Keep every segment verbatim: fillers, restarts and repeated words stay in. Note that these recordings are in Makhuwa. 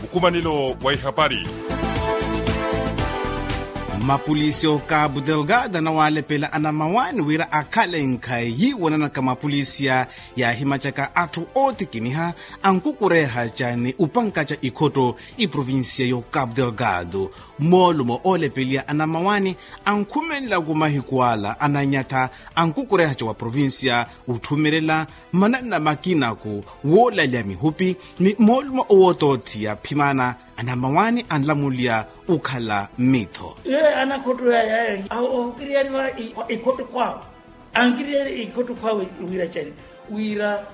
Nkumanelo wa ihapari. Mapulisiya o cabo delgado anawalepela anamawaani wira akhale nkhayi yiiwananaka mapulisiya yaahimacaka atthu ootikiniha ankukurehaca ni upankaca ikhotto iprovincia yo cabo delgado. Moolumo oolepeliya anamawaani ankhumenlaku mahiku ala ananyatha ankukurehaca wa provincia utthumirela mananna makinaku woolalya mihupi ni moolumo owootootthiya phimana anamawaani anlamuliya ukhala mmittho. Iye anakhotto yaya awo ohukiriyariwa ikhotto khwawe ankiriyari ikhotto khwawe wiiracani wira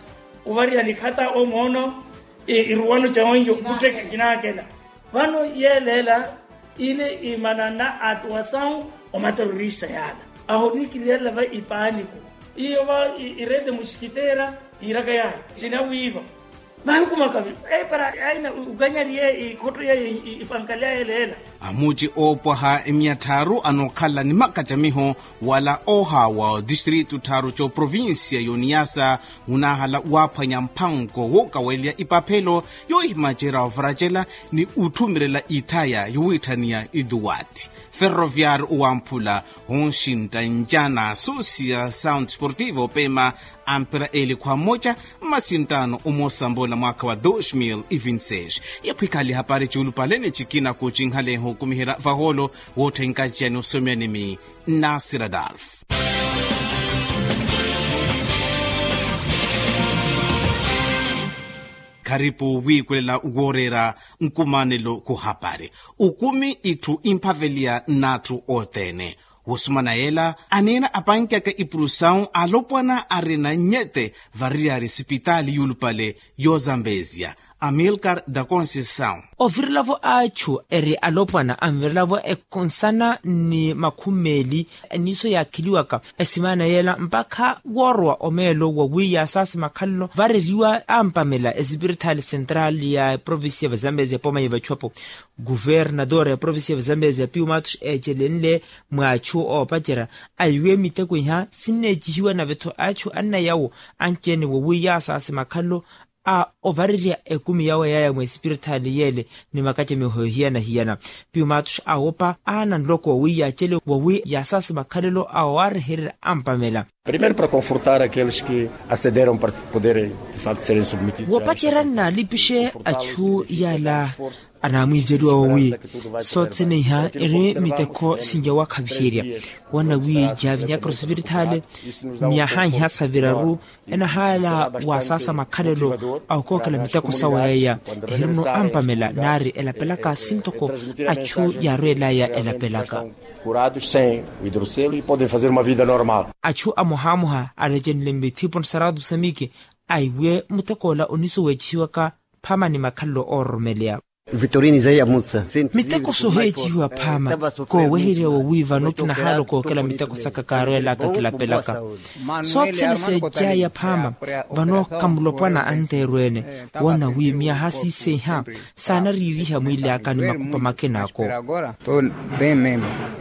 ovariha nikhata omoono iruwano ca onjo khutteka kinaakela. Vano yeeleela ile imananna atuwasawu omaterorista yaala aho nikiriyelela va ipaaniko iyo va irede musikitera iiraka yahi sinawiiva mahiku makavi epara aina ukanyariye ikhotto yeyo ipankali ayeeleela. Amuci oopwaha emia tthaaru anookhala ni makacamiho wala oohaawa otistrito tthaaru c'oprovincia y'oniyasa unaahala waaphwanya mphanko wookaweliya ipaphelo yoohimacerya ovaracela ni utthumirela itthaya yowiitthaniya iduwati ferroviario owamphula onxintta ncana social sound sportivo opema ampira eelikhwa mmoca mmasinttano omosambola mwaakha wa dos mil e vinti seis. Yaphwikhali hapari ciulupale ni cikina kucinhaleha okumiherya vahoolo wootthenkaciya ni osomyani mi nasir adalf. Kharipu wiikwelela wooreera nkumanelo kuhapari ukumi itthu imphaveliya n'atthu othene. Wosumana yeela aniina apankyaka ipuru sawu alopwana arina nyete variyari sipitaali yuulupale y'ozambeziya amilcar da conceição. Ovirelavo achu eri alopwana anvirelavo ekhonsana ni makhumi meeli eniiso yaakheliwaka esimaana yeela mpakha woorowa omeelo wa wiiya asaasi makhalelo vareriwa ampamela esipiritaali sentraali ya eprovincia vazambezi ya pooma ya vachuapo. Kuvernadora ya provincia vazambezi ya piumatus eecelenle mwa achu oopacerya aiwe miteko iha sinneecihiwa nave-tho achu anna yawo anci-ene wowiiya asaasi makhalelo a ovarerya ekumi yawe yaya mwesipiritaali yeele ni makacamiho hiyana-hiyana. Piumatus awopa aana nloko wowiiya acele wowiiya asaasi makhalelo awo aarehererya ampamela. Primero para confortar aqueles que acederam para poder de facto serem submetidos. Woopacerya nnaalipixe achu yaala anaamwiiceliwa wowi sothene iha eri mitekho sinja wakhaviherya wana wi yaavinyaka osipiritaali myaha iha sa viraru enahaala wasaasa makhalelo a okookela miteko sawe yaya ehirino ampamela naari elapelaka sintoko achu yaarweelaya elapelaka. Achu amohamoha alecenle mithiponi saratu samiki aiwe mutekoola oniso weecihiwaka phama ni makhalelo oororomeleya. Miteko soheecihiwa phama kooweherya wowi vano kinahaala okookela miteko saka kaarweelaka kilapelaka. Sothene seejaya phama vano kamulopwana anteerweene woona wi myaha siiseiha saanariiriha mwiilaaka ni makupa makinaako.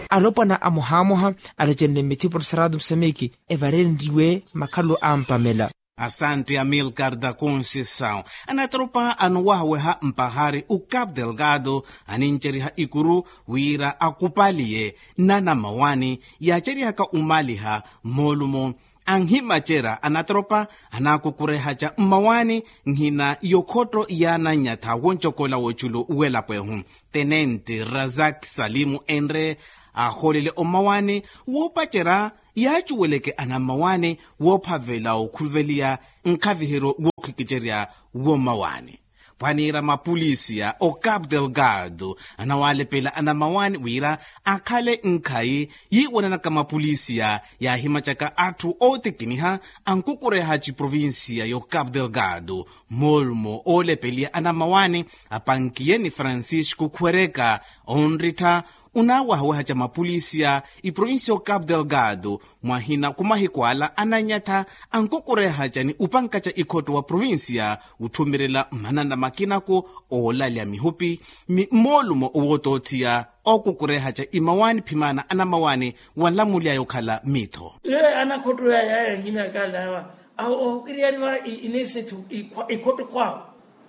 Alopwana amohamoha alocenle mithiponi saratu musameki evarenriwe makhalelo ampamela. Asanti amilcar da conceição. Anatropa anowahaweha mpahari o cabo delgado aninceriha ikuru wira akupaliye nanamawani yaacerihaka umaliha moolumo anhimacerya anatropa anakukurehaca mmawani nhina yokhotto yaananyatha woncokola woculu welapo ehu tenente razak salimu enre ahoolele ommawani woopacerya yaacuweleke anammawaani woophavela okhuveliya nkhaviheryo wookhikicerya wommawaani. Pwaniira mapulisiya o cabo delgado anawalepela anammawaani wira akhale nkhayi yiiwananaka mapulisiya yaahimacaka atthu ootikiniha ankukureha ciprovinsiya yo cabo delgado. Moolumo oolepeliya anammawaani apankiye ni francisco khwereka onrittha unaawahawaha ca mapulisiya iprovinsiya o cabo delgado mwahina ku mahiku ala ananyatha ankukureha ca ni upanka ca ikhotto wa provinsiya utthumirela mmanana makinaku oolalya mihupi ni mmoolumo owootoothiya ookukureha ca imawaani phimana anamawaani wanlamuly'aya okhala miitho. Iye anakhotto yaya yahimyaka alawa awo ohukiriyariwa inesethu ikhotto khwawo.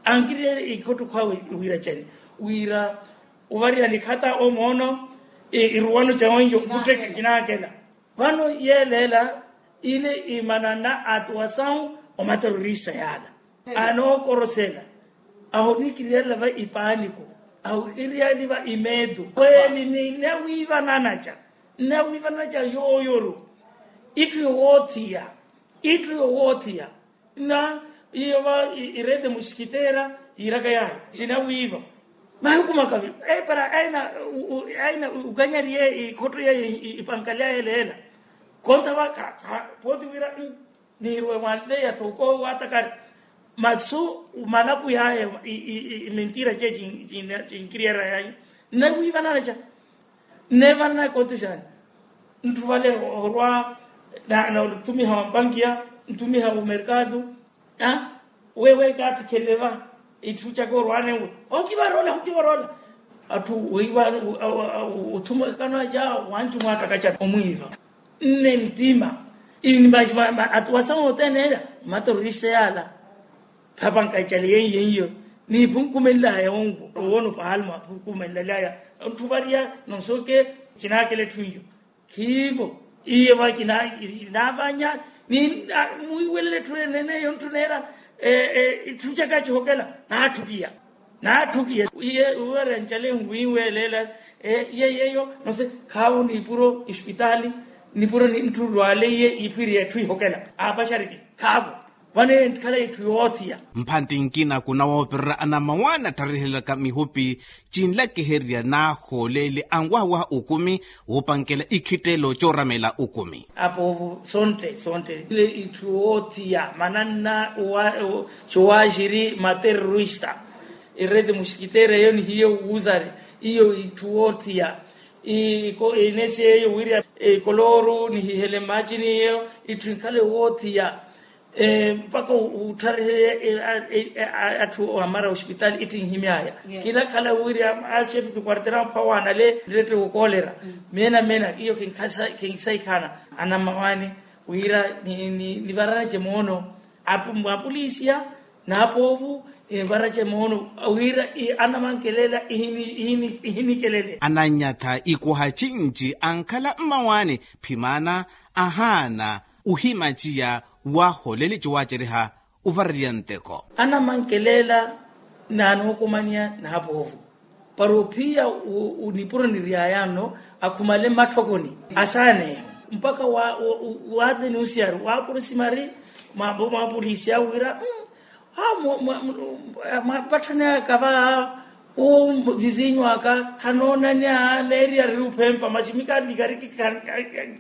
Ankiriyele ikhottukha wira cani? Wira ovariya nikhata omoono iruwano ca onjo kuttekha kinaakela. Vano yeeleela ile imananna atuwasawu omaterorista yaala anookorosela. Ahoniikiriyela va ipaaniko, ahoniikiriyela va imeetu kweli ni nnawiivananaca nnawiivananaca yooyoru. Itthu yowoothiya itthu yowoothiya. Na iyo va irede musikitera yiiraka yahi sinawiiva. Mahiku makavi epara aina ukanyariye ikhotto yaye ipankali yaye leela. Konta va pooti wira nihiruwe mwanleya thoko watakari masu malaku yaye. Mentira ce cinkiriyera yaye nnawiivananaca. Nneevanana ekonti xaani ntthu vale orwa na othumiha wampankiya nthumiha omerkatu. Wewe kaattikhelele va itthu caka orwanewe okivaroola okivaroola. Atthu weiva othumwekano aca wancu mwaattakacana omwiiva nne nttima atuwasa othene ela. Matororista yaala phapanka ecale yeiyo iyo niiphunkumenlaya onku owoona opahali mwaphunkumenlelaya. Ntthu variya nonsoke cinaakela etthu iyo khiivo. Iyo va kinaavanya mwiiwelele etthu eneneyo ntthu neera itthu caka cihokela naatthukiya naatthukiya. Iye uwere ncale nwiiwelela iye yeyo nose khaavo niipuro ispitaali niipuro ntthu lwaleiye iphwiriye etthu ihokela aapaxariki khaavo. Vano eyo ntikhala itthu yoothiya. Mphantti nkina kunawoopererya anamawaani attharihelaka mihupi cinlakiherya naahooleli anwaha waha okumi woopankela ikhittelo cooramela okumi. Apoovo sontte sontte ile itthu woothiya mananna cowaxiri materorista. Irete musikitera eyo nihiye wuuzari iyo itthu woothiya. Inesi eyo wirya ikolooru nihihele mmacini eyo itthu inkhale woothiya. Mpakha utthariheye atthu amara ospitaali ittinhimyaya. Kinakhala wirya axefe kikwartera mphawaana le nrette wokoolera. Meena meena iyo kinsaikhana anamawaani wira nivaranace moono. Apolisiya naapoovu envarace moono wira anamankelela ihinikelele. Ananyatha ikuha cinci ankhala mmawaani phimana ahaana uhimaciya waholele ciwaceriha. Uvareriya nteko anamankelela naanookomaniya naapoovu para ophiya nipuro niriyaya nno akhumale mmatthokoni asaaneya mpakha waatenusiyaru waaporosimari mwapolisiya wira mwapatthaneyaka va. Uu vizinyu aka khanoonanya neeriyari uphempa masi mika nikariki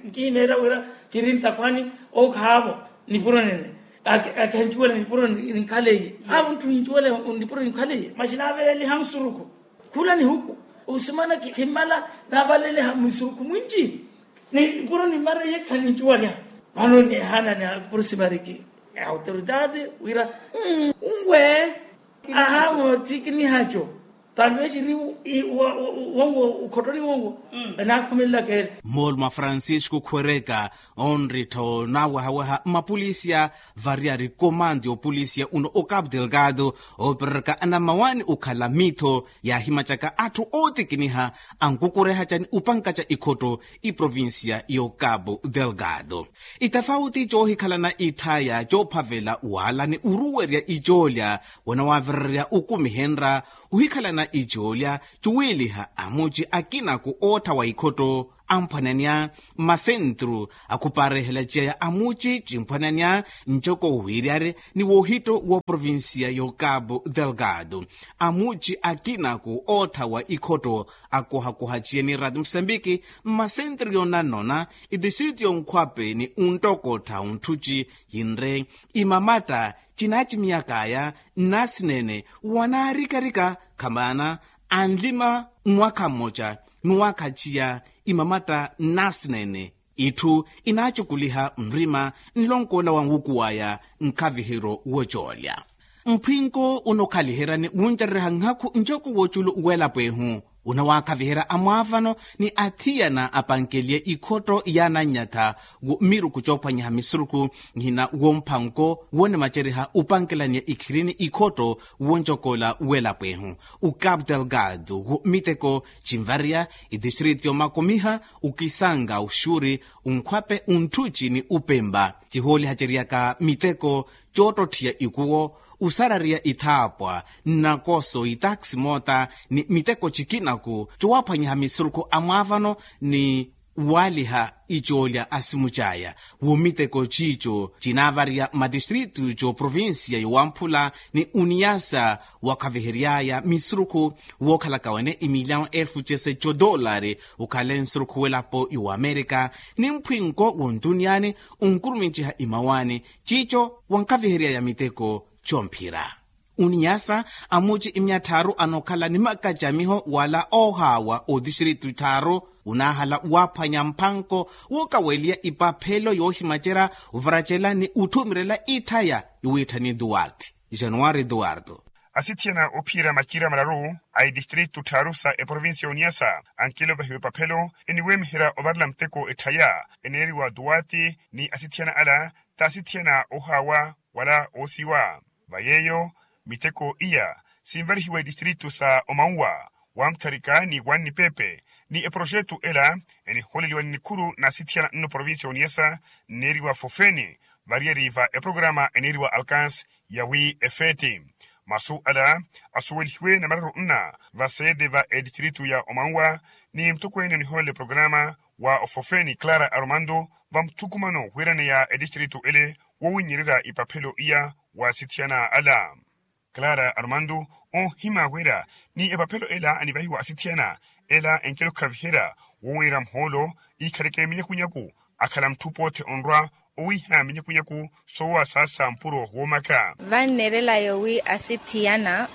nkihimeerya wira kiri ntakhwani. Okhaavo nipuro nene akincuwela nipuro ninkhaleiye. Aavo ntthu nincuwela nipuro ninkhaleiye masi naaveleliha nsurukhu khula nihuku. Usimana khimmala naavaleliha misurukhu mwinci nipuro nimmareiye khanincuwaliha. Vano neehaana ni apursimariki autoridade wira unwe ahaamo ttikinihaco talvexiri wongo ukhottoni wongo. Anaakhumelelaka ele. Mmoolu mwa francisco khwereka onrittha onawehaweha mmapolisiya variyari komandi opolisiya uno o capu delgado oopereraka anamawaani okhala miitho yaahimacaka atthu ootikiniha ankukurehacani upankaca ikhotto iprovinsiya yo capu delgado. Itafauti coohikhalana itthaya coophavela waalani oruwerya icoolya wanawaavirerya okumi henra ohikhalana icoolya cuwiiliha amuci akinaku oottha wa ikhotto amphwananya mmasentru akhupaarehela ciyaya amuci cimphwananya ncoko wiiryari ni woohitto wooprovinsiya yo capu delgado. Amuci akinaku oottha wa ikhotto akohakoha ciya ni rati musambiki mmasentru yoonanona itistrito yonkhwape ni onttokottha onthuci yinre imamatta cinaacimiyakaya nnaasineene wanaarikarika khamaana anlima mwakha mmoca ni wakhaciya imamatta nnaasineene. Itthu inaacukuliha nrima nlonkoola wa nwuku waya nkhavihiro wocoolya mphwinko unokhaliheryani wuncerereha nhakhu ncoko woculu welapo ehu. Unawaakhaviherya amwaavano ni athiyana apankeliye ikhotto y'anannyatha wo miruku coophwanyiha misuruku, nhina wo mphanko wonimaceriha upankelaniya ikhirini ikhotto woncokola w'elapwehu. Ukapu delgado wo miteko cinvariya itistriti yomakomiha ukisanga uxuri unkhwape unthuci ni upempa cihooliha ceriyaka miteko coottotthiya ikuwo usarariya ithaapwa nnakoso itaxi moota ni miteko cikinaku cowaaphwanyiha misurukhu a mwaavano ni waaliha icoolya a simu caya. Wo miteko ciico cinaavariya matistritu c'oprovincia y'owamphula ni uniyasa wakhaviheryaya misurukhu wookhalaka wene imilyawo elfu cese c'odolari ukhale nsurukhu w'elapo y'owamerika ni mphwinko w'ontuniyani unkurumintiha imawaani ciico wankhaviheryaya miteko comphira. Uniyasa amuci imyattharu anookhala ni makacamiho wala oohaawa otistritu tthaaru unaahala waaphwanya mphanko wookaweliya ipaphelo yoohimacerya ovaracela ni utthumirela itthaya yowiitthani duarte januari duarte. Asithiyana ophiira macira mararu a itistritu tthaaru sa eprovincia y'oniyasa ankelo ovahiwa epaphelo eniweemiherya ovarela muteko etthaya eneeriwa duarte ni asithiyana ala t'asithiyana oohaawa wala oosiwa. Va yeeyo miteko iya sinvarihiwa itistritu sa omauwa wamutharika ni wannipepe ni eprojetu ela enihooleliwa ni nikhuru n'asithiyana nno provincia y'oniyasa nneeriwa fofeni variyari va eprograma eneeriwa alcance ya wi efeeti. Masu ala asuwelihiwe namararu nna va seede va etistritu ya omauwa ni mutokweene onihoolele programa wa ofofeni clara aromando va muthukumano wiraneya etistritu ele wowinyererya ipaphelo iya wa asithiyana ala. Clara aromando oohima wira ni epaphelo ela anivahiwa asithiyana ela enkelo khaviherya wowiira muhoolo iikhaleke minyakunyaku akhala mutthu pootthe onrwa owiiha minyakunyaku soowa saasa mpuro woomaka. Vanneerela yoowi asithiyana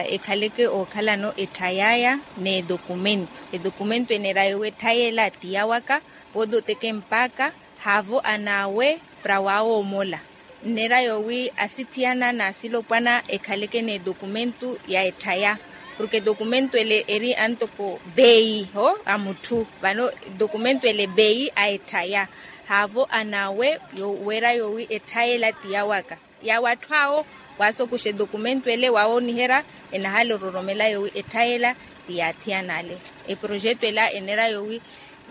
ekhaleke ookhalano etthayaya n'edokumento edokumento eneera yoowi etthayela ti yawaka. Pooti oteke mpakha haavo anaawe para waawoomola. Nneera yoowi asithiyana n'asilopwana ekhaleke n'edokumento ya etthaya porke edokumento ele eri antoko beyi ho a mutthu vano edokumento ele beyi a etthaya. Haavo anaawe weera yoowi etthayela ti yawaka. Yaawo atthu awo waasokuxa edokumento ele waawooniherya enahala ororomela yoowi etthayela ti yaathiyana ale. Eprojetu ela eneera yoowi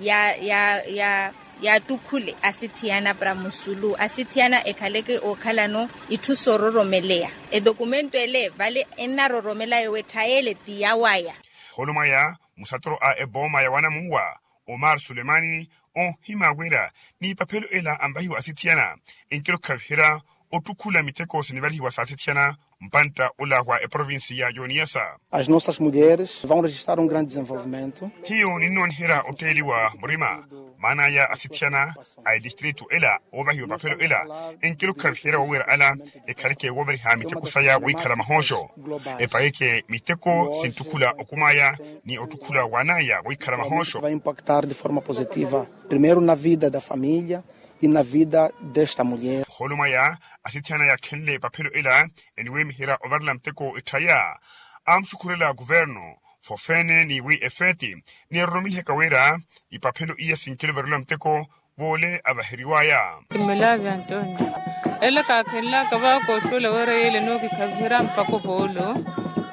ya ya ya yaattukhule asithiyana para musulu asithiyana ekhaleke ookhalano itthu soororomeleya. Edokumento ele vale ennaroromela yoowi etthayele ti yawaya. Holo mwaya musatoro a ebooma ya wanamuwa omar sulemani oohima wira n'ipaphelo ela anvahiwa asithiyana enkelo khaviherya ottukhula miteko sinivarihiwa saasithiyana mpantta ola wa eprovincia y'oniyasa. As nossas mulheres vão registrar um grande desenvolvimento. Hiyo ninnooniherya otteeliwa murima maana aya asithiyana a etistritu ela oovahiwa epaphelo ela enkelo khaviherya wowira ala ekhaleke woovariha miteko saya woikhala mahooxo epayeke miteko sinttukhula okumaya ni ottukhula wanaya woikhala mahooxo. Vai impactar de forma positiva primeiro na vida da família e na vida desta mulher. Holo mwaya asithiyana yakhenle epaphelo ela eniweemiherya ovarela muteko etthaya amuxukhurela kuvernu fofene ni wi efeeti ni eroromelihaka wira ipaphelo iya sinkelo varela muteko voole avaheriwaya. Kimelavi antonio ela kaakhenlaka vaakooxuwela wira yeela enookikhaviherya mpaka ovoolo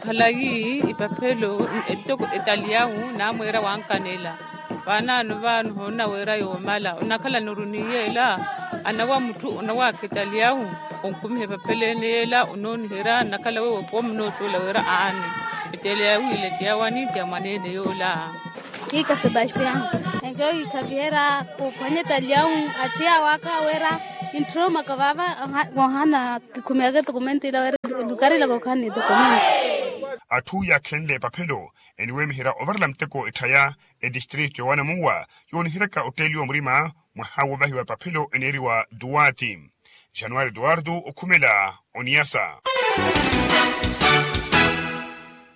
khalayi ipaphelo etaliyahu naamweera wankanela. Vaanaano vaano hoona wira yoomala onakhala nuru ni yeela anawa mutthu onawaakha etaliyahu onkumiha epaphelo ene yeela onooniherya nnakhala wewo pooma onoosuwela wira aani etaliyahu ile ti yawani ti ya mwaneene yoola. Kiika sebastian enkelo kiikhaviherya kuphwanya etaliyahu atthiya waka wira ntthurummaka vaava. Koohana kikhumiyaka edokumento ila wira elukarelaka okhala ni edokumento. Atthu yaakhenle epaphelo eniweemiherya ovarela muteko etthaya etistritu ya wanamuwa yooniheryaka otteeliwa murima mwaha woovahiwa epaphelo eneeriwa duwaati. Januari eduwardo okhumela oniyasa.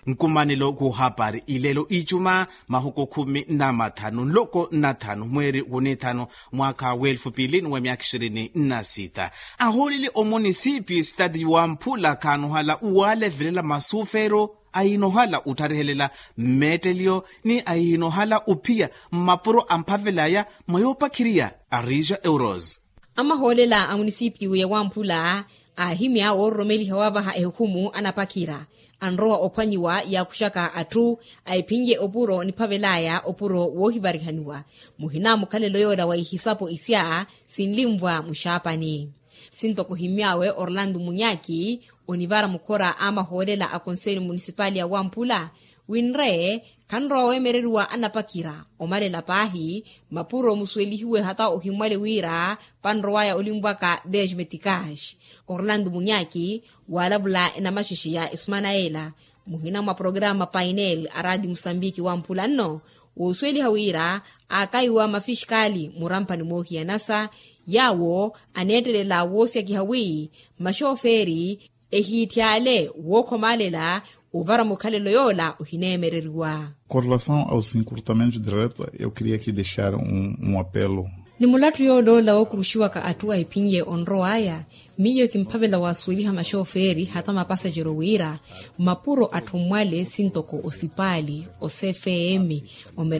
Nkumanelo kuhapari ilelo icuma mahuku khumi na mathanu nloko nnathanu mweeri wunithanu mwaakha w'elfu piili ni wa myaakha ishirini na sita. Ahooleli omunisipi stadi wa mphula khaanuhala walevelela masufero Ahinohala ottharihelela mmeetteliyo ni ahinohala ophiya mmapuro amphavelaya mwa yoopakhiriya. Arija euros. Amahoolela a munisipiyu ya wamphula aahimya woororomeliha wavaha ehukhumu anapakhira anrowa ophwanyiwa yaakuxaka atthu. Ahiphinye opuro niphavelaya opuro woohivarihaniwa muhina mukhalelo yoola wa ihisapo isya sinlimvwa muxaapani. Sintoko ohimmy'awe orlando munyaki onivara mukhora a mahoolela a konselho munisipali ya wamphula winre khanrowa weemereriwa anapakhira omalela paahi mapuro musuwelihiwe hata ohimmwale wira panrowaya olimvwaka desmetikash. Orlando munyaki waalavula enamaxexe ya esumana ela muhina mwa programa painel a radio musambiki wamphula nno woosuweliha wira aakaiwa mafixikali muramphani moohiyanasa yaawo aneettelela woosyakiha wi maxofeeri ehiitthi ale wookhomalela ovara mukhalelo yoola ohineemereriwa. Korelasaw a osi nkurutamentu direto eu kiriya kidexara un apelo. Ni mulattu yooloola wookuruxiwaka atthu ahiphinye onrowaya miyo kimphavela waasuweliha maxofeeri hata mapasajero wira mapuro atthu mmwale sintoko osipaali osefeemi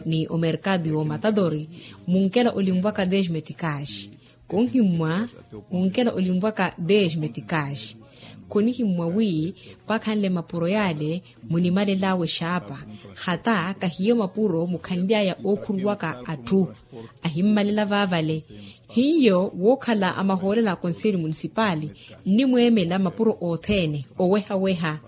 ni omerkado yoomatadori munkela olimvwaka desmetikaxi. Khonhimmwa munkela olimvwaka desmetikaxi khonihimmwa wi pakhanle mapuro yaale munimalel'awe xaapa hata kahiyo mapuro mukhanly'aya ookhuruwaka atthu ahimmalela vaavale. Hiyo wookhala amahoolela a konselho munisipali nnimweemela mapuro othene oweha-weha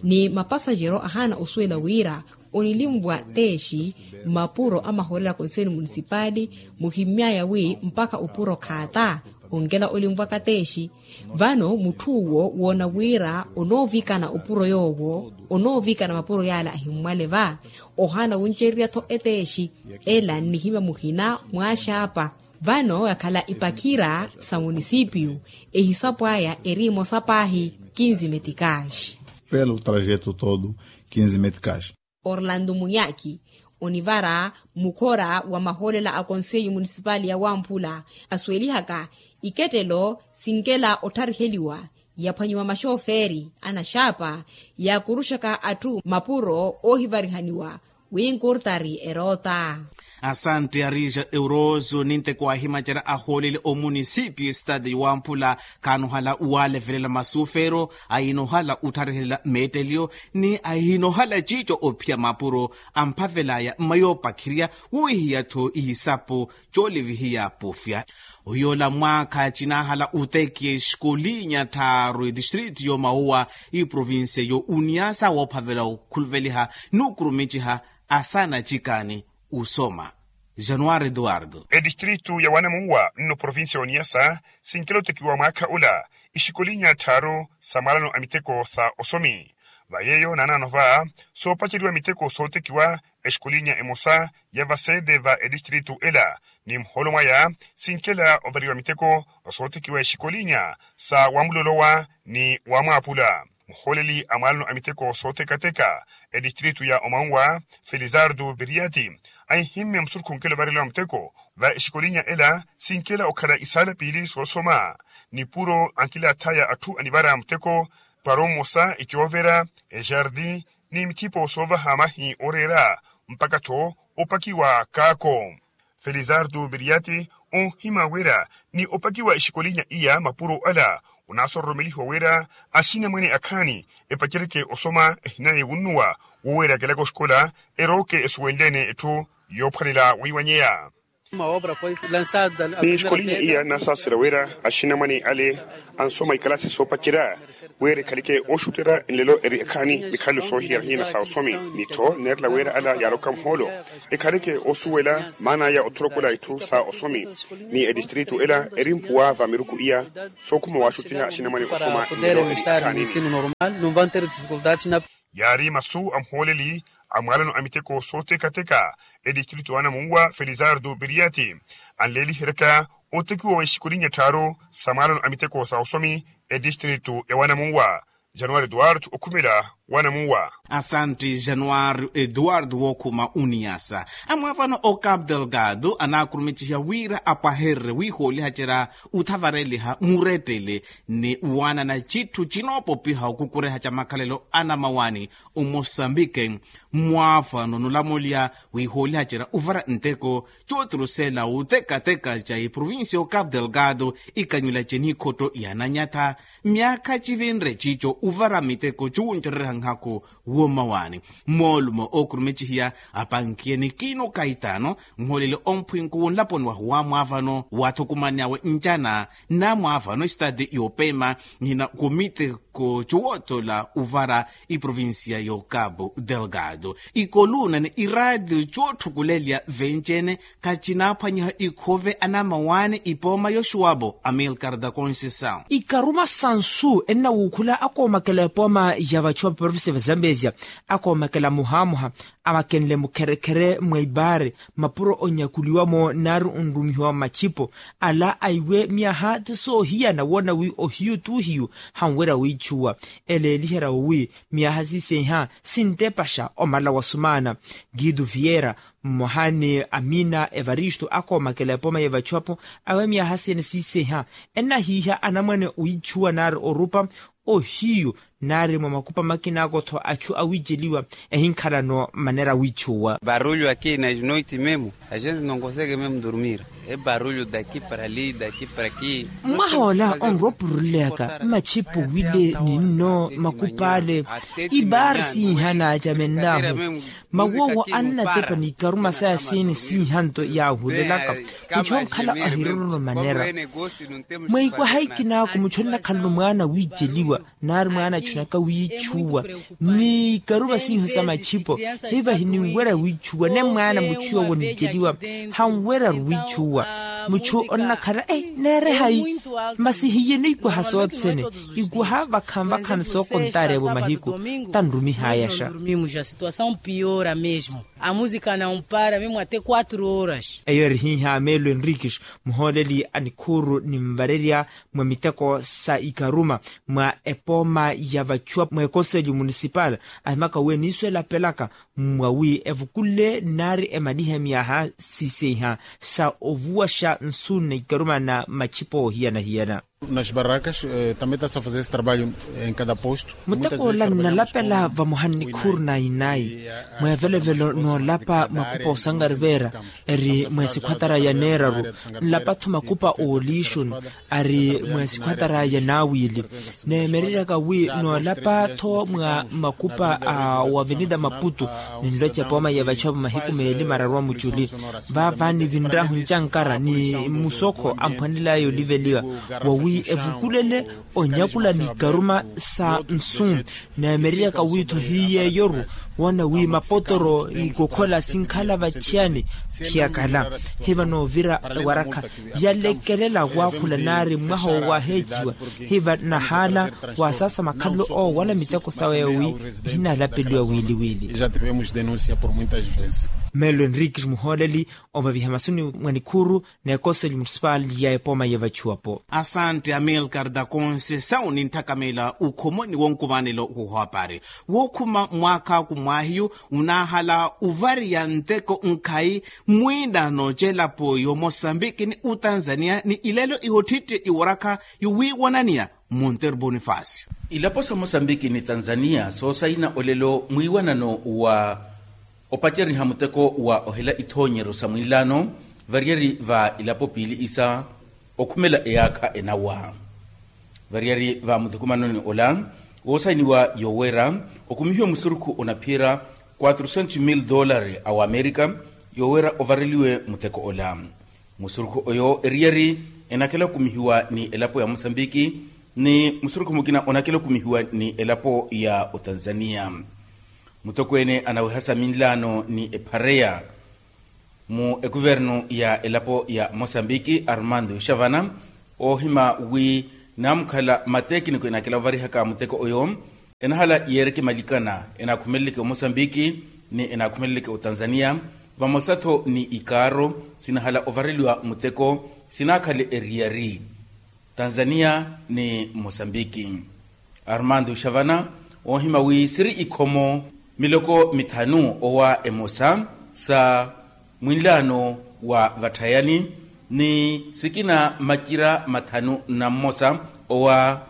ni mapasajero ahaana osuwela wira onilimvwa teexi mapuro a mahoolela a konselho munisipali muhimmy'aya wi mpakha opuro khaata onkela olimvwaka teexi. Vano mutth'uwo woona wira onoovikana opuro yoowo onoovikana mapuro yaala ahimmwale va ohaana wuncererya-tho eteexi ela nnihimya muhina mwaaxaapa. Vano yakhala ipakhira sa munisipiyu ehisapo aya eri emosa paahi kinzi metikaxi. Pelo trajeto todo kinzi metikaxi. Orlando munyaki onivara mukhora wa mahoolela a konselho munisipali ya wamphula asuwelihaka ikettelo sinkela ottariheliwa yaphwanyiwa maxofeeri anaxaapa yaakuruxaka atthu mapuro oohivarihaniwa wi nkurtari eroota. Asante arija euroso ninteko ahimacerya ahoolele omunisipio estado yowamphula khaanohala walevelela masufero ahinohala ottharihelela meetteliyo ni ahinohala ciico ophiya mapuro amphavelaya mmayoopakhirya wowihiya-tho ihisapo coolivihiya pofya. Oyoola mwaakha cinahala otekiya exikolinya tthaaru etistritu yomawuwa iprovincia yo uniasa woophavela okhuluveliha n'ukurumiciha asaana acikaani osoma. Januari eduardo. Etistritu ya wanamuwa nno provincia ya uniasa sinkela otekiwa mwaakha ula exikolinya tthaaru sa mwaalano a miteko sa osomi. Va yeeyo naanaano va soopaceriwa miteko sootekiwa exikolinya emosa ya vasede va etistritu ela ni muhoolo mwaya sinkela ovariwa miteko sootekiwa exikolinya sa wamulolowa ni wamwaapula. Muhooleli a mwaalano a miteko sootekateka etistritu ya omanwa felizardo viriati anhimmya musurukhu onkela ovareliwa muteko va exikolinya ela sinkela okhala isaala piili soosoma nipuro ankilathaya atthu anivara muteko para omosa ecoovera ejardi ni mithipo soovaha mahi ooreera mpakha-tho opakiwa kaako. Felizardo viriati onhima wira ni opakiwa exikolinya iya mapuro ala onaasororomelihiwa wira axinamwane akhaani epaceryeke osoma ehinaya ewunnuwa woweerakelaka oxikola erooke esuwenle-ene etthu yoophwanela weiwanyeya. Ni exikolinya iya naasaasira wira axinamwane ale ansoma ikalasi soopacerya wira ekhaleke ooxutterya nlelo eri ekhaani mikhalelo soohiya hina sa osomi ni-tho neerela wira ala yaaroka muhoolo ekhaleke oosuwela maana aya othorokola itthu sa osomi ni etistritu ela eri mpuwa va miruku iya sookhuma waaxuttiha axinamwane osoma nlelo eri ekhaani. Yaari masu a muhooleli a mwaalano a miteko sootekateka etistritu ya anamuwa felizardo viriati anleeliheryaka otekiwa wa exikolinya tthaaru sa mwaalano a miteko sa osomi etistritu ya wanamuwa. Januari duarte okhumela Wanamuwa. Asanti januari eduardo wookhuma uniyasa. Amwaavano o capo delgado anaakurumicihiya wira apwahererye wiihoolihacerya uthavareliha murettele ni waanana citthu cinoopopiha okukureha ca makhalelo anamawani. Omosambike mwaafano nulamulya wiihoolihacerya uvara nteko cootirusela utekateka ca iprovincia o capo delgado ikanyula cenikhotto yananyatha myaakha civinre cico uvara miteko cuwuncererya nhaku. Woomawaani moolumo ookurumicihiya apankiye ni kiino kaitaano nhoolele omphwinku wunlaponi wahu waamwaavano waathukumani awe ncana naamwaavano estati yoopema nihina komite ko cuwootola uvara iprovincia yo capo delgado. Ikoluna ni iraatiyo cootthukulelya venci-ene khacinaaphwanyiha ikhove anamawaani ipooma yoxuwapo amilcar da conceição. Ikaruma sansu ennawuukhula akoomakela epooma ya vachuwa provincia va zambezia akoomakela muhaamuha amakenle mukherekhere mwa ibaari mapuro onyakuliwa-mo nari onrumihiwa mmachipo ala aiwe myaha ti soohiyana woona wi ohiyu t'uhiyu hanwerya wiichuwa. Eleeliherya owi myaha siisenha sintepaxa omala wa sumaana. Guido viera mmoha ni amina evaristo akoomakela epooma y'evachuwapo awe myaha siyene siisenha ennahiiha anamwane wiichuwa nari orupa ohiyu nari mwa makupa makinaako-tho achu awiiceliwa ehinkhalano manera wiichuwa. Barulho aqui nas noites mesmo a gente não consegue mesmo dormir. É barulho daqui para ali daqui para aqui. Mmwaha ola onrowa opuruleleyaka mmachipo wile ni nno makupa ale ibaari siiha naacamenlahu. Mawoowo annatepa ni ikaruma saya siini siihanto yaahuvelaka. Muchu onkhala ohirorono manera mweikwaha ikinaaku muchu onnakhalano mwaana wiiceliwa nari mwaana achunaka wiichuwa ni ikaruma siiho sa machipo hiva hininwerya wiichuwa ne mwaana muchu yoowo niiceliwa hanweryaru wiichuwa. Muchu onnakhala e neere hayi masi hiyeno ikwaha sothene ikwaha vakhanvakhani sookontaarevo mahiku tanrumihaayaxa. A música não para mesmo até quatro horas. Eyo eri hiiha meelo enriques muhooleli a nikhuuru ninvarerya mwa miteko sa ikaruma mwa epooma ya vachuwa mwa ekonselho municipal ahimaka wi eniiso elapelaka mwawi evukulle nari emalihe myaha siseiha sa ovuwaxa nsu na ikaruma na machipo ohiyana-hiyana. Nas barracas também está-se a fazer esse trabalho em cada posto. Muteko ola nnalapela vamoha nnikhuru na inayi mweevelovelo noolapa makupa osangarivera eri mweesikhwatara ya neeraru nlapa-tho makupa oolixoni ari mweesikhwatara ya naawili. Neemereryaka wi noolapa-tho mwa makupa a wavenida maputu ninloca epooma yeevaxapo mahiku meeli mararu a muculi vaava nivinrahu ncankara ni musokho amphwanelaya oliveliwa wawi evukulele onyakula ni ikaruma sa nsu. Neemereryaka wi-tho hiyeeyo-ru woona wi mapotoro ikokhola sinkhala vachiyani khiyakala hiva noovira ewarakha yalekelela waakhula nari mwaha owaheeciwa hiva nahaala waasaasa makhalelo owo wala miteko sawe wi ehinalapeliwa wiili-wiili. Meelo enriques muhooleli ovaviha masuni mwa nikhuru n'ekonselho municipal ya epooma yeevachuwapo. Asante amilcar da conceição nintthakameela ukhomoni wonkumanelo wohapari wookhuma mwaakhaku mwaahiyu unaahala ovariya nteko nkhayi mwiinano c'elapo y'omosambiki ni otanzania ni ilelo ihottitte iwarakha yowiiwananiya. Monteiro bonifacio. Ilapo sa mosambiki ni tanzania soosayina olelo mwiiwanano wa opaceriha muteko wa ohela ithoonyero sa mwiilano variyari va ilapo piili isa okhumela eyaakha enawa. Variyari va muthukumanoni ola woosayiniwa yowera okumihiwe musurukhu onaphiyera quatrocentos mil dollari a wamerika yowera ovareliwe muteko ola. Musurukhu oyo eriyari enakhela okumihiwa ni elapo ya mosambiki ni musurukhu mukina onakhela okumihiwa ni elapo ya otanzania. Mutokweene anaweha sa minlaano ni ephareya mu ekuvernu ya elapo ya mosambiki armando ixavana oohima wi naamukhala matekiniko enakhela ovarihaka muteko oyo enahala yeereke malikana enaakhumeleleke omosambiki ni enaakhumeleleke otanzania vamosa-tho ni ikaaro sinahala ovareliwa muteko sinaakhale eriyari tanzania ni mosambiki. Armando ixavana Oohima wi siri ikhomo miloko mithanu owa emosa sa mwinlaano wa vatthayani ni sikina macira mathanu na mmosa owa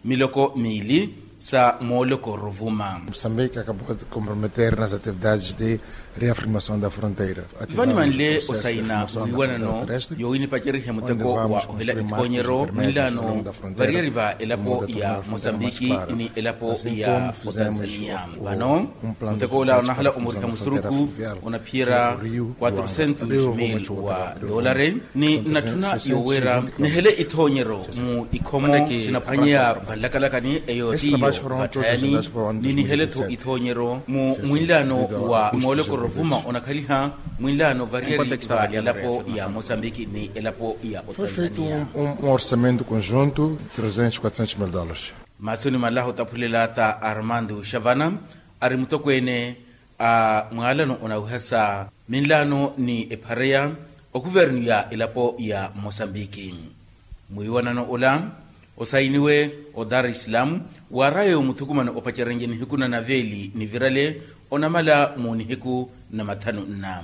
miloko miili sa mooloko rovuma. Moçambique acabou de comprometer nas atividades de reafirmação da fronteira. Vanimanle osaina mwiiwanano yoowinipacerihe muteko wa ohela ithoonyero mwinlaano variyari va elapo ya mosambiki ni elapo ya otanzania. Vano muteko ola onahala omuriha musuruku onaphiyera quatrocentos mil wa dolare ni nnatthuna yoowira nihele ithoonyero mu ikhomo sinaphwanyeya vanlakalakani eyo tiyo vatthayani ni nihele-tho ithoonyero mu mwinlaano wa mooloko rovuma onakhaliha mwinlaano variyari va elapo ya mosambiki ni elapo ya otanzania. Um orçamento conjunto trezentos quatrocentos mil dólares. Maasoni malaha otaphulela ta armando xavana ari mutokweene a mwaalano onawiha sa minlaano ni ephareya okuvernu ya elapo ya mosambiki. Mwiiwanano ola osayiniwe o dar es salaam waaraya omuthukumano opacerenje nihiku na naveeli nivirale onamala mu nihiku na mathanu nna.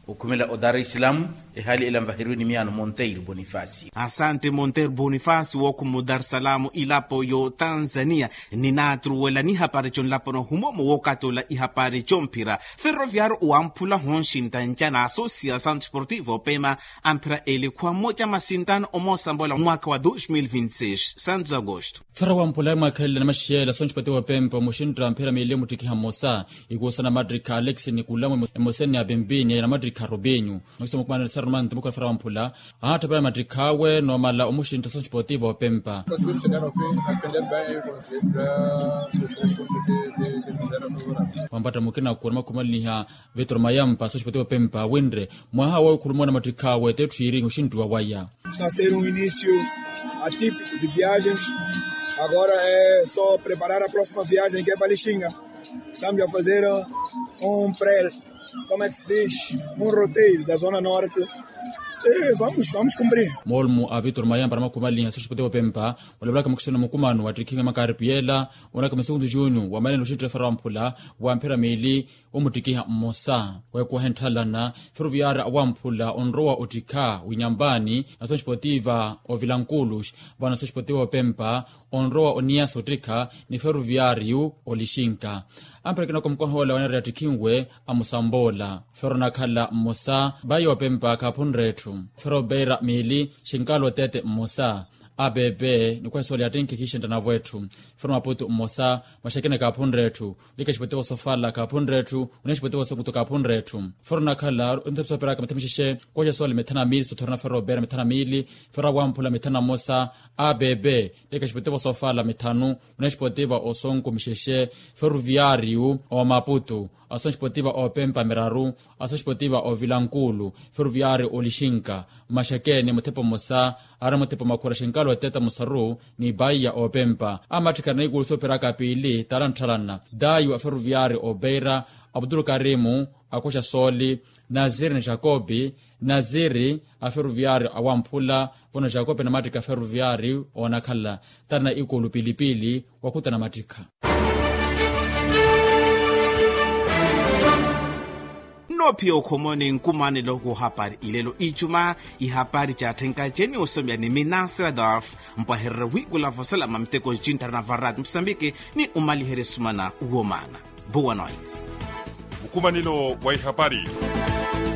Okhumela o dar es salaam ehaali ela nvaheriwe ni miyaano monteiro bonifacio. Asante monteiro bonifacio wookhuma o dar es salaam ilapo yo tanzania. Ninaatruwela nihapari conlapano humomo wookatoola ihapari comphira ferroviario owamphula honxinta nca na asosiasaw sportivo opema amphira elikhuwa mmoca masinttano omoosambola mwaakha wa dos mil vinti seis santos agosto. Fera wamphula mwaakhelele na maxiyela sonxipatiwa opempa omuxintta mphira miili omuttikiha mmosa ikuusa na mattikha alex nikulamu emoseni ya pimpini ya na mattikha robinyu. Mwakiso mukumanani sarumanti mukhona fera wamphula ahattha pela mattikha awe noomala omuxintta sonxipatiwa opempa. Wampatta mukina kuwa na makhumaliniha vitor mayampa sonxipatiwa opempa winre mwaha awe okhulumwa na mattikha awe tetthu yiiri oxinttiwa waya. Está a ser um início atípico de viagens. Agora é só preparar a próxima viagem que é para Lixinga. Estamos a fazer um pré, como é que se diz? Um roteiro da Zona Norte. E vamos, vamos cumprir. Moolumu a vitor mayampa na makhumaliniha sonxipatiwa opempa olapelaka mukisoni mukumano wa ttikhinga makaaripiyela onaka masukuntu junior wamanene oxinttiwa fera wamphula wa mphira miili omuttikiha mmosa. Weekuwaha entthalana ferroviaria awamphula onrowa ottikha winyambaani na sonxipatiwa ovilankulux vano sonxipatiwa opempa onrowa oniyasa ottikha ni ferroviario olixinka. Amphira kinoko mukoha ola waneereya ttikhinwe amusamboola fero onakhala mmosa bayi opempa kaaphunre etthu fero opeira miili xinkala otete mmosa. Apepe nikuhesooleya attinkhe khixentta navo etthu fero maputu mmosa maxekene kaaphunre etthu. Lika exipwetevo sofala kaaphunre etthu. Oneya exipwetevo sokuto kaaphunre etthu fero onakhala onthepisa operaka mitha mixexe. Kuwaxa soole mitha na miili sothorana fero opeira mitha na miili fero awamphula mitha na mmosa. Apepe lika exipwetevo sofala mithanu. Oneya exipwetevo osonku mixexe ferroviario owa maputu. Aso exipwetevo opempa miraru. Aso exipwetevo ovilankulu ferroviario olixinka. Maxekeni muthepa mmosa ari muthepa makhura xinkala oteta musaru ni paiya opempa amattikha na ikuusa operaka piili tala ntthalana dayu a ferroviario opeira abdul karimu. Akoxa sooli naziri ni jakobi naziri a ferroviario awamphula vano jakobi namattikha ferroviario oonakhala tala na ikuulu piili piili. Wakhuta namattikha. Nnoophiya okhomoni nkumanelo koohapari ilelo icuma ihapari caatthenkaceni osomya ni minasira dolf mpwahererye wiikula vosalama miteko ncinttara na varati musambiki ni omaliherye sumana womaana. Boa noite. Mukumanelo wa ihapari.